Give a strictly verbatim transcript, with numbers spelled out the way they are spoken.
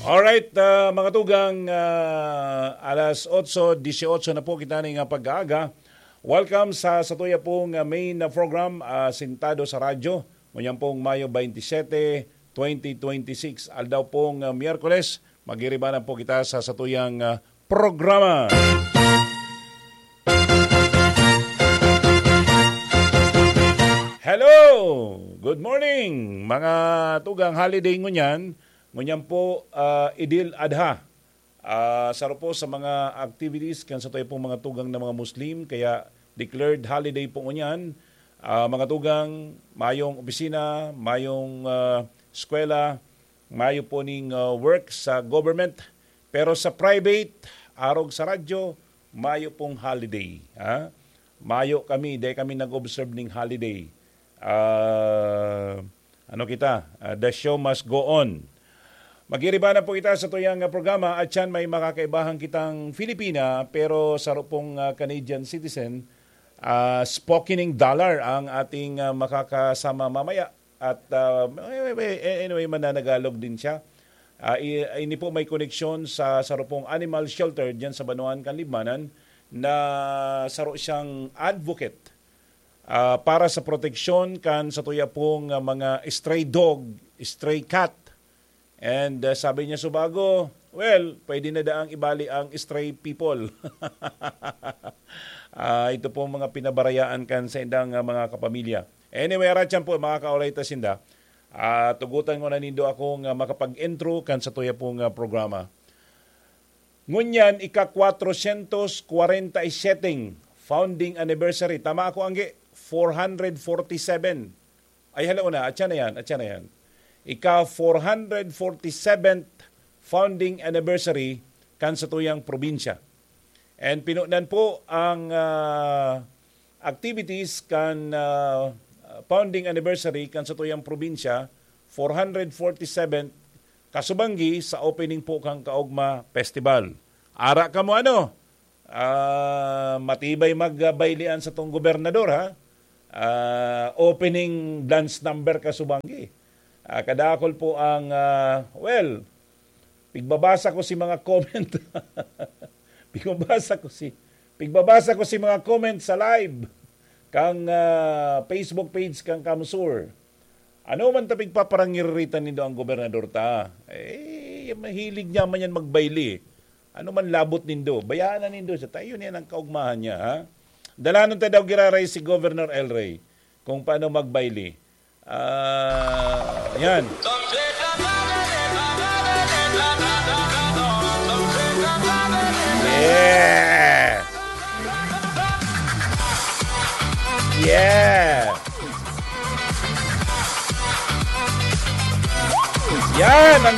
Alright, ah, mga tugang, ah, alas otso dieciocho na po kita ning, ah, pag-aaga. Welcome sa satuya pong, ah, main, ah, program, ah, Sentado sa Radyo. Ngunyan pong Mayo twenty-seven, twenty twenty-six, aldaw pong, ah, Miyerkules. Magiribanan po kita sa satuyang, ah, programa. Hello! Good morning, mga tugang. Holiday ngunyan. Ngunyan po, ah, Idil Adha. Ah, saro po sa mga activities kan satuya pong mga tugang na mga Muslim, kaya declared holiday po ngunyan. Ah, mga tugang, mayong opisina, mayong, ah, eskwela, mayo po ning, ah, work sa government. Pero sa private, arog sa radyo, mayo pong holiday, ha? Mayo kami, dai kami nag-observe ning holiday. Ah, ano kita? Ah, the show must go on. Magiriba na po kita sa tuyang, ah, programa at siyan may makakaibahan kitang Filipina pero saro pong, ah, Canadian citizen. Ah, Spokening Dollar ang ating, ah, makakasama mamaya. At, ah, anyway, anyway, mananagalog din siya. Ah, i- ini po may koneksyon sa saro pong animal shelter diyan sa Banwaan kan Libmanan na saro siyang advocate, ah, para sa proteksyon kan satuya pong, ah, mga stray dog, stray cat. And, ah, sabi niya, "Subago, well, pwede na daang ibali ang stray people." Ah, ito pong mga pinabarayaan kan sa indang, ah, mga kapamilya. Anyway, aratyan po, makakaulay ta sinda. Ah, tugutan ko na nindo akong, ah, makapag-intro kan satuya pong, ah, programa. Ngunyan, ika-kwatrosyentos kwarenta y seteng founding anniversary. Tama ako, Angge? Four hundred forty-seven. Ay, hala na. Atyan na yan. Atyan na yan. Ika-four hundred forty-seventh founding anniversary kan satuyang probinsya. And pinunan po ang, ah, activities kan, ah, founding anniversary kan satuyang probinsya, four hundred forty-seventh, kasubanggi sa opening po kan Kaogma Festival. Ara kamo ano, ah, matibay magbaylian satong gobernador, ha? Ah, opening dance number kasubanggi. Ah, kadakol po ang, ah, well, pigbabasa ko si mga comment. Pigbabasa ko si, pigbabasa ko si mga comment sa live kang, ah, Facebook page kang Kamsur. Ano man ta pigpaparangiriritan nindo ang gobernador ta? Eh, mahilig niya man yan magbayli. Ano man labot nindo, bayaan na nindo siya. Tayo niya ang kaugmahan niya, ha? Dalanon ta daw giraray si Governor El Rey kung paano magbayli. Ah, yan. Yeah! Yeah! Yan ang